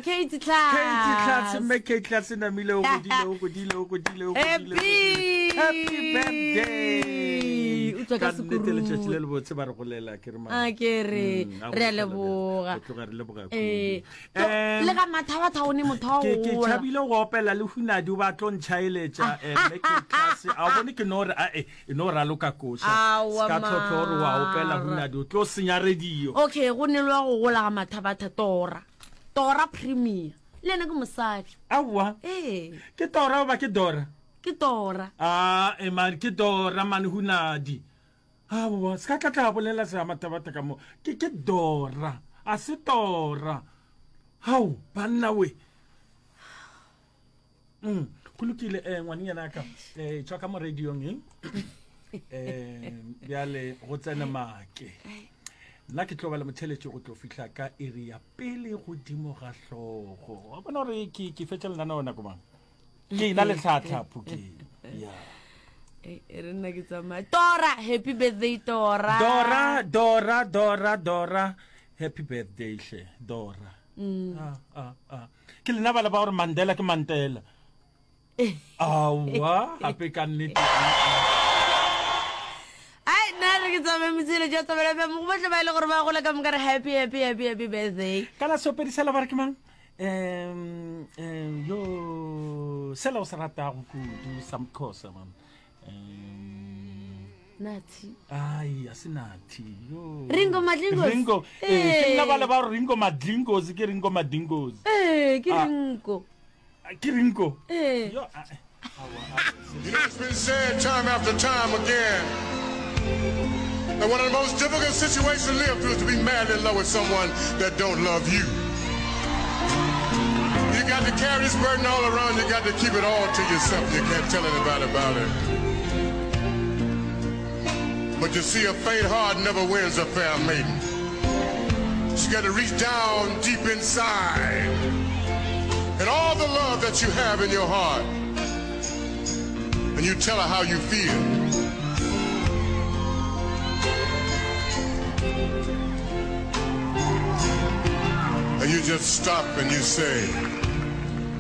Kate Class. Kate Class, mme Kate Class namile o godile o godile o godile o godile. Happy. Happy birthday. O tswa ka Ka nnete letšatši le sekuru. le botse ba re golela ke re man. A ke re Mm, a re a go leboga. Go tloga re leboga kudu. Eh, to- Em, le ga mathabatha o ne motho wa ke ke gola. tšhabile go opela le hunadi o ba tlo ntšhaeletša eh, mme Kate Class a o bone ke no re a e e no raloka koša Aowa, se ka tlhotlho gore wa opela mara. hunadi o tlo senya radio Okay, go ne lwa go gola ga mathabatha Tora. Tora Premier. Le yena ke mosadi. Aowa. Ee. Ke Tora goba ke Dora? Ke Tora. A e man ke Dora man hunadi. Aowa, se ka tla tla bolela sa mathabatha ka mo. Ke ke Dora, a se Tora. Hao, banna we. Mm, go lokile um ngwanenyana ka um tšwa ka mo radiong eng um bjale go tsene make nna ke tlo ba le motheletši go tlo fihla ka iri ya pele godimo ga hlogo wa bona gore ke ke fetša lenaneo nako mang ke ina le tlhatlhapho ke ya e re nna ke tsamaya tora happy birthday tora dora dora dora dora happy birthday hle dora mm. ah, ah, ah. Ke lena bale ba gore Mandela ke Mantela. Aowa, gape ka nnete. Ai, nna re ke tsamaye metsele jwa tsamaela fm go botlhe ba e le gore ba gola ka moka re happy happy happy happy birthday. Kana seopedi sela ba re ke mang? Um, um, yo sela o se ratago kudu sa Mxhosa man. Um, Nathi. Ai, a se Nathi. Yo. Ringo Madlingos. Ringo. Eh, ke nna bale ba Ringo Madlingos, ke Ringo Madingos. Eh, ke Ah. Ringo. Ke Ringo. Eh. Yo, ah, eh. You know, it's been said time after time again that one of the most difficult situations to live through is to be madly in love with someone that don't love you. You got to carry this burden all around. You got to keep it all to yourself. You can't tell anybody about it. But you see, a faint heart never wins a fair maiden. You got to reach down deep inside and all the love that you have in your heart. And you tell her how you feel. And you just stop and you say,